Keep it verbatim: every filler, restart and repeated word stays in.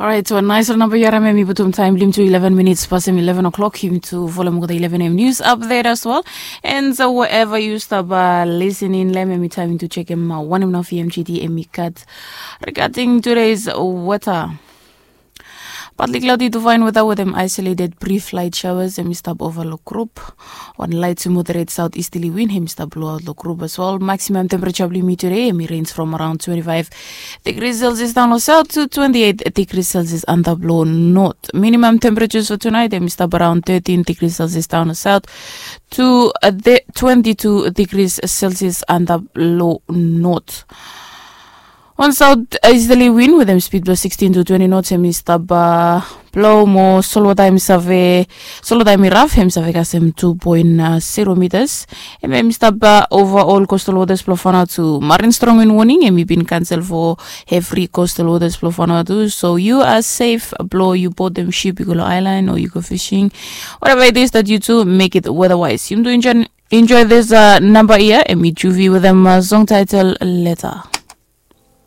Orait, wan nais ol namba yaram em i putum taim blim tu eleven minits pasem eleven o'clock, him tu folem olgeta eleven am news update as well. And so wherever you stop uh, listening lem em i taim to check em uh, wanem na fmgd em i kat regarding today's weather. Partly cloudy to fine weather with them isolated brief light showers em i stap over lo group. Wan light to moderate south easterly wind em i stap blow out lo group as well. Maximum temperature blimi today em i range from around twenty-five degrees Celsius down lo south to twenty-eight degrees Celsius antap lo north. Minimum temperatures for tonight em i stap around thirteen degrees Celsius down lo south to uh, the twenty-two degrees Celsius antap lo north. On south easterly wind with them speed below sixteen to twenty knots em i stap uh, blow mo solwata em i save solwata em i raf em i save kasem two point uh, zero meters. Em em i stap uh, over all coastal waters blo Vanuatu. Marine strong wind warning em i bin cancel for every coastal waters blo Vanuatu. So you are safe blo you board them ship you go lo island or you go fishing. Whatever it is that you do, make it weatherwise. You do enjoy, enjoy this uh, number here em i Juvi with them uh, song title Letter.